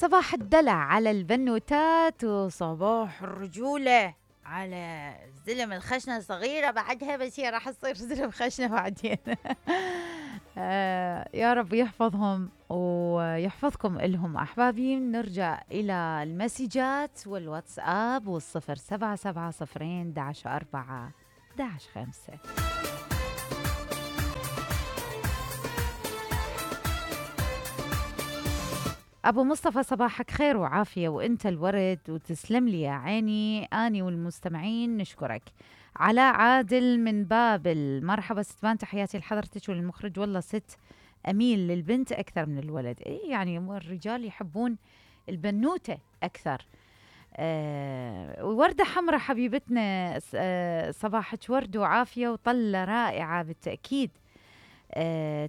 صباح الدلع على البنوتات وصباح الرجولة على الزلم الخشنة صغيرة بعدها، بس هي راح تصير زلم خشنة بعدين. يا رب يحفظهم ويحفظكم إلهم أحبابي. نرجع إلى المسجات والواتساب والصفر 770 11 5. أبو مصطفى صباحك خير وعافية وإنت الورد، وتسلم لي يا عيني. أني والمستمعين نشكرك. علاء عادل من بابل، مرحبا ستبان، تحياتي لحضرتك وللمخرج. والله ست أميل للبنت أكثر من الولد. إيه يعني الرجال يحبون البنوتة أكثر. وردة حمراء حبيبتنا، صباحك ورد وعافية وطلة رائعة بالتأكيد.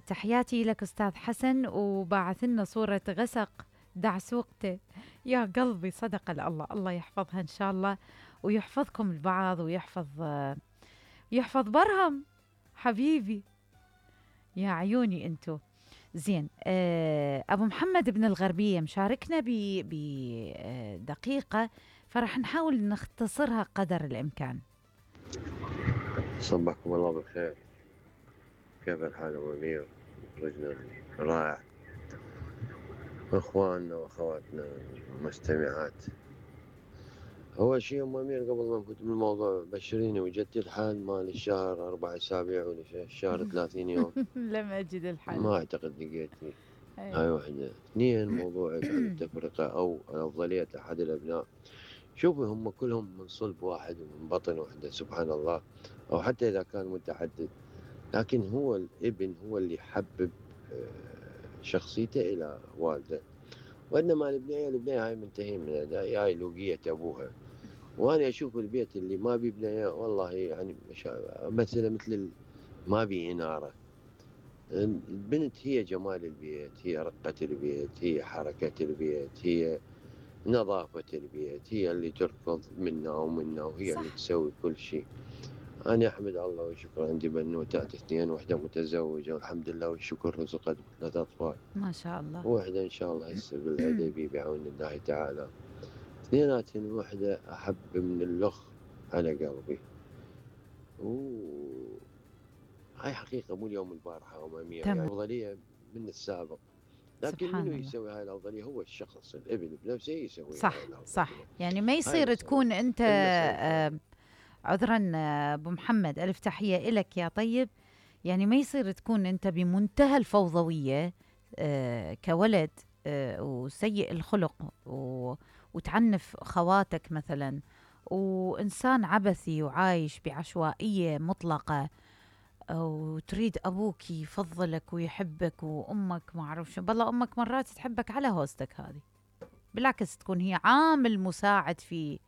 تحياتي لك أستاذ حسن، وبعث لنا صورة غسق دعسوقته. يا قلبي صدق الله، الله يحفظها إن شاء الله ويحفظكم البعض ويحفظ برهم حبيبي يا عيوني أنتو. زين. أبو محمد بن الغربية مشاركنا بدقيقة، فرح نحاول نختصرها قدر الإمكان. صبحكم الله بالخير، كيف الحال أبو أمير؟ رجل رائع، إخواننا وأخواتنا المستمعات. أول شيء أم أمير قبل ما نفوت بالموضوع، بشريني وجدتي الحال مال الشهر 4 أسابيع ولا الشهر 30 يوم؟ لم أجد الحل. ما أعتقد لقيتني. هاي واحدة. 2، موضوعك عن التفرقة أو أفضلية أحد الأبناء. شوفي هم كلهم من صلب واحد ومن بطن واحدة سبحان الله، أو حتى إذا كان متعدد، لكن هو الابن هو اللي يحبب شخصيته إلى والده، وإنما البنية هاي منتهين منها، هاي لوقية أبوها. وأنا أشوف البيت اللي ما بي بنية والله يعني مثل ما بي إنارة. البنت هي جمال البيت، هي رقة البيت، هي حركة البيت، هي نظافة البيت، هي اللي تركض منا ومنا، وهي صح. اللي تسوي كل شيء. أنا أحمد الله والشكر، عندي بنوتات 2، واحدة متزوجة والحمد لله والشكر، رزقت 3 أطفال ما شاء الله، واحدة إن شاء الله هسه بالعدبي بعون الله تعالى. 2 واحدة أحب من الأخ على قلبي. هاي حقيقة مو اليوم البارحة أمامية، يعني أفضلية من السابق، لكن منو يسوي هاي الأفضلية؟ هو الشخص، الابن بنفسه يسوي صح هاي الأفضلية. صح، يعني ما يصير تكون أنت عذرا أبو محمد، ألف تحية إلك يا طيب. يعني ما يصير تكون أنت بمنتهى الفوضوية كولد وسيء الخلق وتعنف خواتك مثلا، وإنسان عبثي وعايش بعشوائية مطلقة، وتريد أبوك يفضلك ويحبك وأمك ما أعرف شو. بالله أمك مرات تحبك على هوستك هذه، بالعكس تكون هي عامل مساعد في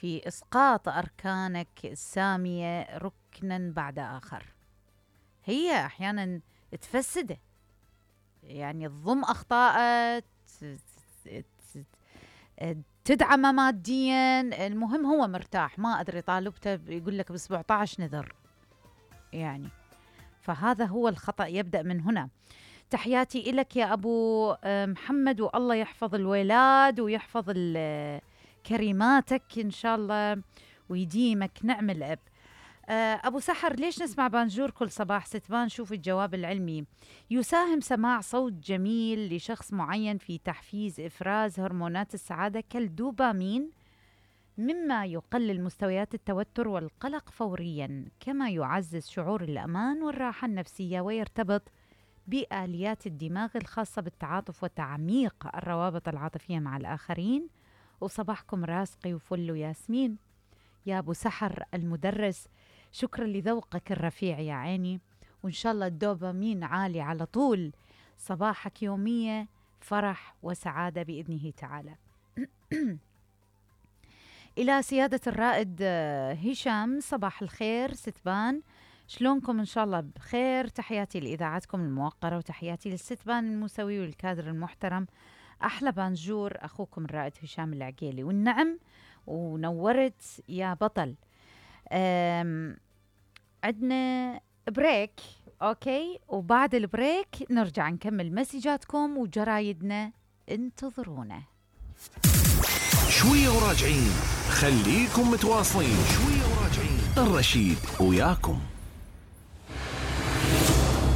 إسقاط أركانك السامية ركنا بعد آخر. هي أحيانا تفسده، يعني تضم أخطاء، تدعم ماديا، المهم هو مرتاح. ما أدري طالبته يقول لك ب17 نذر يعني، فهذا هو الخطأ، يبدأ من هنا. تحياتي إلك يا أبو محمد، والله يحفظ الولاد ويحفظ كريماتك إن شاء الله ويديمك نعم الأب. أبو سحر، ليش نسمع بانجور كل صباح؟ ستبان شوف الجواب العلمي. يساهم سماع صوت جميل لشخص معين في تحفيز إفراز هرمونات السعادة كالدوبامين، مما يقلل مستويات التوتر والقلق فوريا، كما يعزز شعور الأمان والراحة النفسية، ويرتبط بآليات الدماغ الخاصة بالتعاطف وتعميق الروابط العاطفية مع الآخرين. وصباحكم راسقي وفل وياسمين يا أبو سحر المدرس، شكرا لذوقك الرفيع يا عيني، وإن شاء الله الدوبامين عالي على طول. صباحك يومية فرح وسعادة بإذنه تعالى. إلى سيادة الرائد هشام، صباح الخير ستبان، شلونكم؟ إن شاء الله بخير. تحياتي لإذاعتكم الموقرة، وتحياتي للستبان الموسوي والكادر المحترم. أحلى بانجور أخوكم الرائد هشام العقيلي. والنعم ونورت يا بطل. عندنا بريك، أوكي، وبعد البريك نرجع نكمل مسجاتكم وجرايدنا، انتظرونا. شوية وراجعين، خليكم متواصلين. شوية وراجعين، الرشيد وياكم.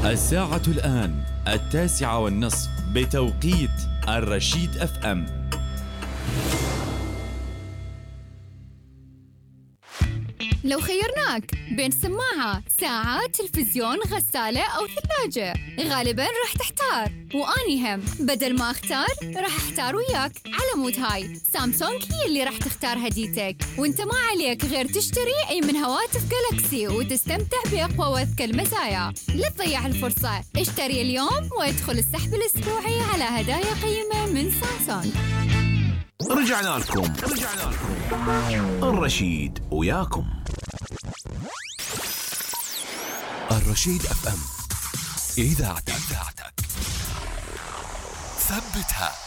الساعة الآن 9:30 بتوقيت الرشيد FM. لو خيرناك بين سماعة، ساعة، تلفزيون، غسالة أو ثلاجة، غالباً راح تحتار، وأني هم بدل ما أختار راح أحتار وياك. على مود هاي سامسونج هي اللي راح تختار هديتك، وانت ما عليك غير تشتري أي من هواتف جالاكسي وتستمتع بأقوى وأذكى المزايا. لا تضيع الفرصة، اشتري اليوم وادخل السحب الأسبوعي على هدايا قيمة من سامسونج. رجعنا لكم. الرشيد وياكم. الرشيد FM، إذاعتك ثبتها.